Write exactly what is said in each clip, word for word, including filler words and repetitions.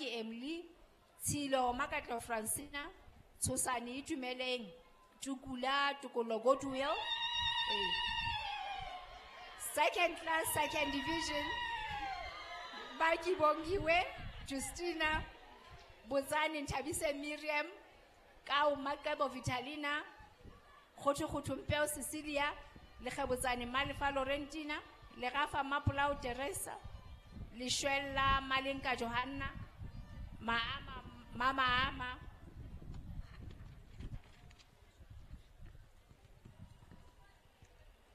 Emily, Tshilo Makatlo Francina, Tshosane Itumeleng, Tukula Tokolo Goodwill. Eh. Second class, second division, Baki Bongiwe, Justina, Bozani Nthabise Miriam, Kau Makebo Vitalina, Khoto Khoto Mpeo Cecilia, Lekgebotsane Malefa Laurentina, Lerafa Mapolao Teresa, Leshwella Malenka Johanna, Maama Mama Ama,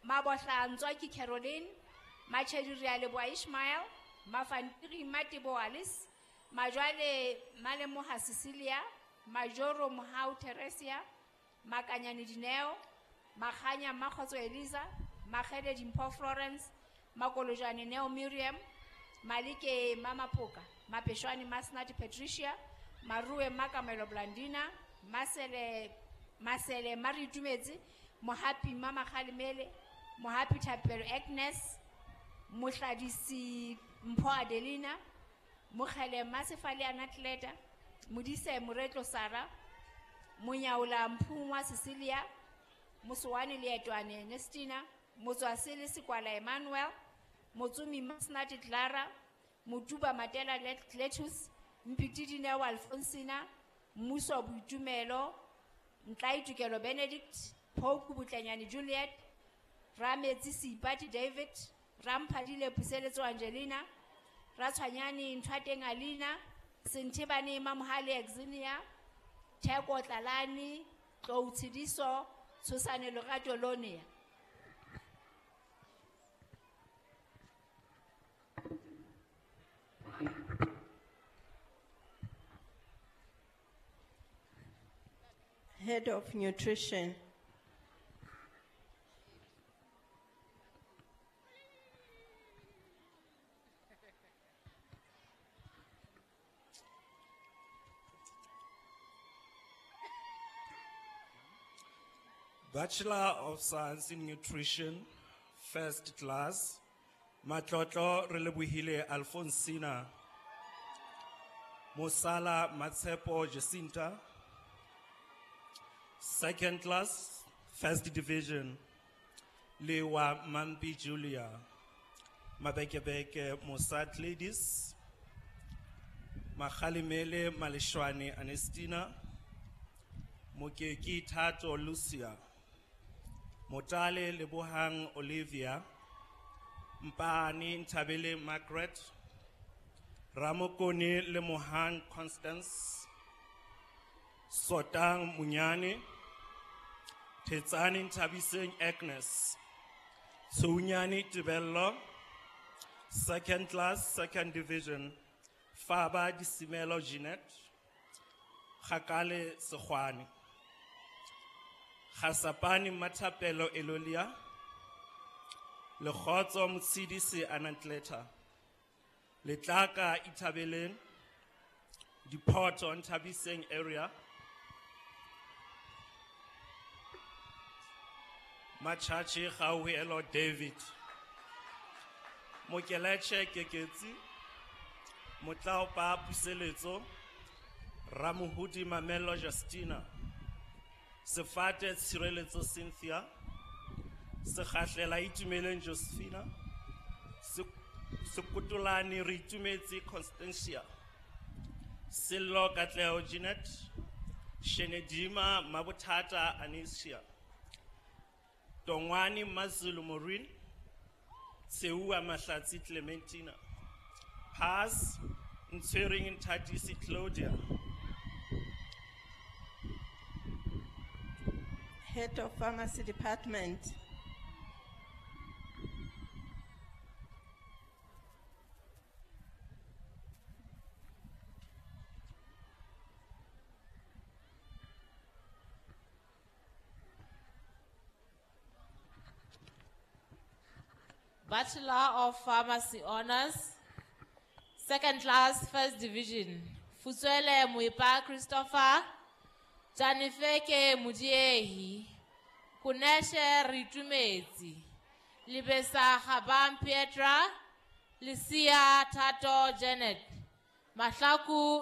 Mabotla Ntswaki Caroline, Machedi Realeboa Ishmael, Mafantiri Matebo Alice, Majwale Malemoha Cecilia, Majoro Mohau Teresia, Makanyani Dineo, Makhanya Makhotso Eliza, Makhede Dimpho Florence, Makolojane Neo Miriam, Malike Mama Poka, Mapeshwani Masnati Patricia, Marue Makamelo Blandina, Masele Masele Mari Tumedzi, Mohapi Mama Khalimele, Mohapi Thapelo Agnes, Mohladisi Mpho Adelina, Mokhele Masefale Anatleta, Modise Moretlo Sara, Monyaola Mphungwa Cecilia, Mosowane Leetwane Nestina, Motswasele Sekwala Emmanuel, Motsumi Masnati Clara, Motuba Matela Letus, Mpiti Dineo Alfonsina, Muso Boitumelo, Ntlaitukelo Benedict, Phoku Botlenyane Juliet, Rametsi Seipati David, Ramphadile Puseletso Angelina, Ratshwanyane Nthwateng Alina, Senthebane Mamohale Exinia, Theko Tlalane, Tlou Tshidiso, Tshosane Lorato Lonia. Head of Nutrition. Bachelor of Science in Nutrition, first class, Matlotlo Relebohile Alfonsina, Mosala Matsepo Jacinta, second class, first division, Lewa Mampi Julia, Mabekebeke Mosat Ladies, Makhalimele Maleshwane Anestina, Mokeki Thato Lucia, Motale Lebohang Olivia, Mpani Ntabele Margaret, Ramokone Lemohang Constance, Sotang Munyane, Tetsani Ntabiseng Agnes, Tsunyani Tibello, second class, second division, Faba Disimelo Jeanette, Khakale Sekhwane, Khasapani Mathapelo Elolia, Lekhotso Motshidisi Anantleta, Letlaka Ithabeleng, Diphoto Nthabiseng area, Machachi Gauhelo David, Mokeleche Keketsi, Motlaopa Puseletso, Ramuhudi Mamelo Justina, Sefate Tshireletso Cynthia, Sekgahlela Itumeleng Josephina, Sekotolane Reitumetse Constantia, Sello Katleho Jeanette, Shenedima Mabothata Anesia, Tongwani Mazulu Maureen, Tseua Mahlatsi Clementina, Pass Ntshwering Nthatisi Claudia. Head of Pharmacy Department. Bachelor of Pharmacy Honors, second class, first division. Futswele Muipa Christopher, Janifeke Mudiehi, Kuneshe Ritumezi, Libesa Habam Pietra, Lisia Tato Janet, Mahlaku